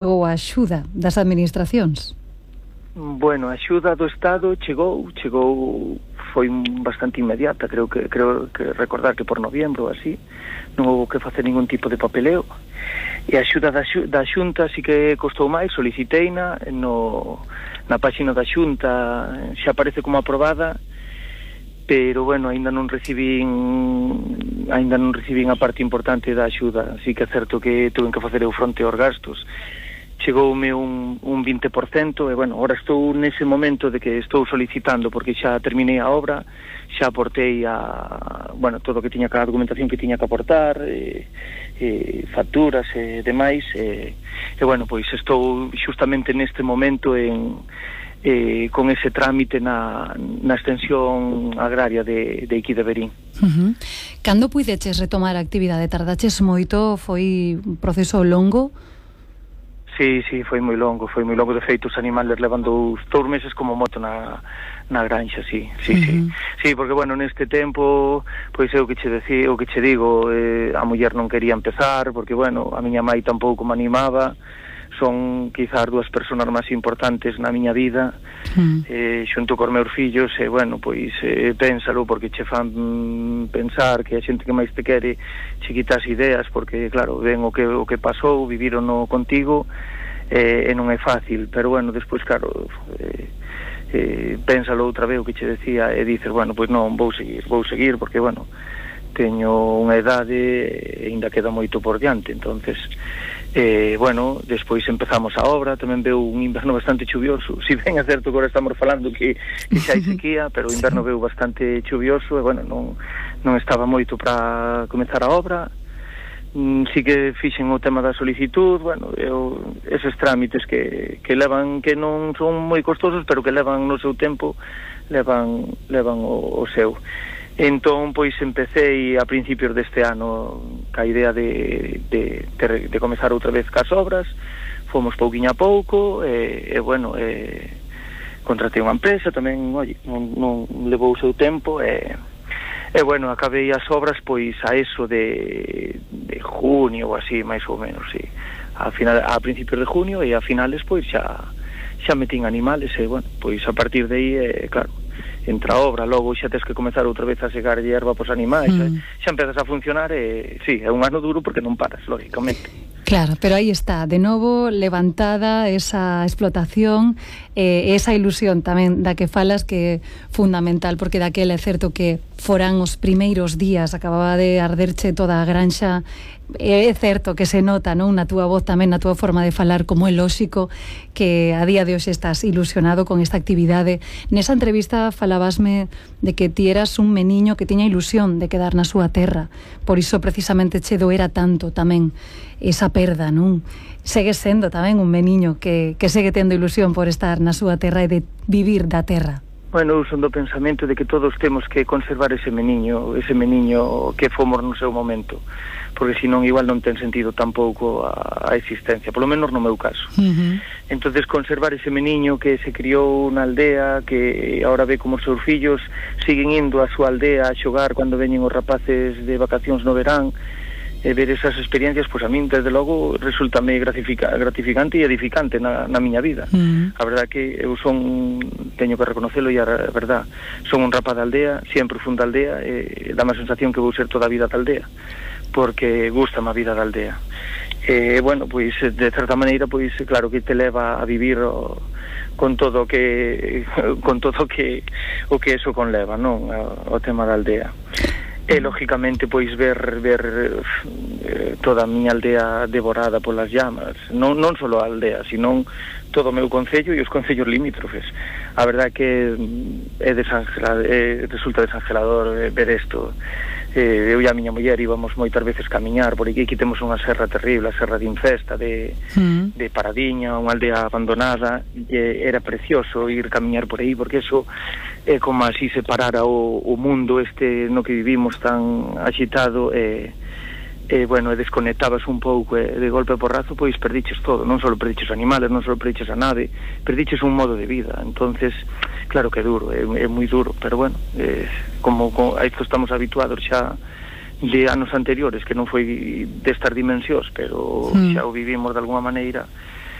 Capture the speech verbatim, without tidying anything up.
ou a axuda das administracións? Bueno, a axuda do Estado chegou, chegou, foi bastante inmediata, creo que creo que recordar que por noviembro ou así, non houve que facer ningún tipo de papeleo, e a axuda da, da Xunta sí que costou máis, soliciteina, no, na páxina da Xunta xa aparece como aprobada, pero bueno, aínda non recibín aínda non recibín a parte importante da axuda, así que é certo que tuve que facer eu fronte aos gastos. Chegoume un, un vinte por cento e, bueno, ahora estou nese momento de que estou solicitando porque xa terminei a obra, xa aportei a, bueno, todo o que tiña, a documentación que tiña que aportar, e, e facturas e demais, e, e, bueno, pois estou xustamente neste momento en, e, con ese trámite na, na extensión agraria de, de aquí de Verín. Uh-huh. Cando puideches retomar a actividade? Tardaches moito? Foi un proceso longo? Sí, sí, foi moi longo, foi moi longo. De feito, os animales levan dous, dous meses como moto na, na granxa, sí, sí, uh-huh. sí. Sí, porque, bueno, neste tempo, pois é o que che decía, o que che digo, eh, a muller non quería empezar, porque, bueno, a miña mai tampouco me animaba, son quizás dúas persoas máis importantes na miña vida, uh-huh. eh, xunto cos meus fillos, e, bueno, pois, eh, pénsalo, porque che fan mm, pensar que a xente que máis te quere che quitas ideas, porque, claro, ven o que, o que pasou, vivirono contigo, eh, e non é fácil, pero, bueno, despois, claro, eh, eh, pénsalo outra vez o que che decía, e dices, bueno, pois non, vou seguir, vou seguir, porque, bueno, teño unha idade e ainda queda moito por diante, entonces, eh, bueno, despois empezamos a obra, tamén veu un inverno bastante chuvioso, si ben é certo que agora estamos falando que, que xa hai sequía, pero o inverno veu bastante chuvioso, e, bueno, non, non estaba moito para comezar a obra. Mm, sí que fixen o tema da solicitud, bueno, eu, eses trámites que, que levan, que non son moi costosos, pero que levan no seu tempo, levan, levan o, o seu. Entón, pois, empecé a principios deste ano ca idea de, de, de, de comezar outra vez cas obras, fomos pouquiño a pouco, e, e bueno, e, contratei unha empresa, tamén, oi, non, non levou o seu tempo, e, e bueno, acabei as obras, pois, a eso de, de junio, ou así, máis ou menos, sí. A, final, a principios de junio, e a finales, pois, xa, xa metín animales, e, bueno, pois, a partir de aí, eh, claro, entra a obra, logo xa tens que comezar outra vez a segar hierba pos animais, mm. xa empezas a funcionar, e sí, é un ano duro porque non paras, lógicamente. Claro, pero aí está, de novo levantada esa explotación e eh, esa ilusión tamén da que falas, que é fundamental, porque daquela é certo que foran os primeiros días, acababa de arderche toda a granxa, é certo que se nota, non, na túa voz tamén, na túa forma de falar, como é lóxico que a día de hoxe estás ilusionado con esta actividade. Nesa entrevista falabasme de que ti eras un meniño que tiña ilusión de quedar na súa terra, por iso precisamente che doera tanto tamén esa perda, non? Segues sendo tamén un meniño que, que segue tendo ilusión por estar na súa terra e de vivir da terra. Bueno, eu son do pensamento de que todos temos que conservar ese meniño, ese meniño que fomos no seu momento, porque senón igual non ten sentido tampouco a, a existencia, polo menos no meu caso. Uh-huh. Entonces, conservar ese meniño que se criou na aldea, que agora ve como os seus fillos siguen indo á súa aldea a xogar cando veñen os rapaces de vacacións no verán, e ver esas experiencias, pois, a min, desde logo, resultame gratifica, gratificante e edificante na, na miña vida. Mm. A verdad que eu son, teño que reconocelo, e a verdad, son un rapaz da aldea, sempre fun da aldea, e dá má sensación que vou ser toda a vida da aldea, porque gusta a vida da aldea. E, bueno, pois, de certa maneira, pois, claro que te leva a vivir o, con todo o que, con todo o que, o que eso conleva, non? O, o tema da aldea. E, lógicamente, pois, ver ver eh, toda a miña aldea devorada polas llamas, non, non só a aldea, senón todo o meu concello e os concellos limítrofes. A verdad que é desangelador, é, resulta desangelador ver isto. Eh, eu e a miña muller íbamos moitas veces camiñar por aquí, aquí temos unha serra terrible, a serra de Infesta, de, mm. de Paradiña, unha aldea abandonada, e era precioso ir camiñar por aí, porque eso é como así separara o, o mundo este no que vivimos tan agitado, e, e bueno, desconectabas un pouco, e de golpe porrazo, pois perdiches todo, non só perdiches animales, non só perdiches a nave, perdiches un modo de vida. Entonces, claro que é duro, é, é moi duro, pero bueno, eh, como, como a isto estamos habituados xa de anos anteriores, que non foi destas dimensións, pero mm. xa o vivimos de alguma maneira,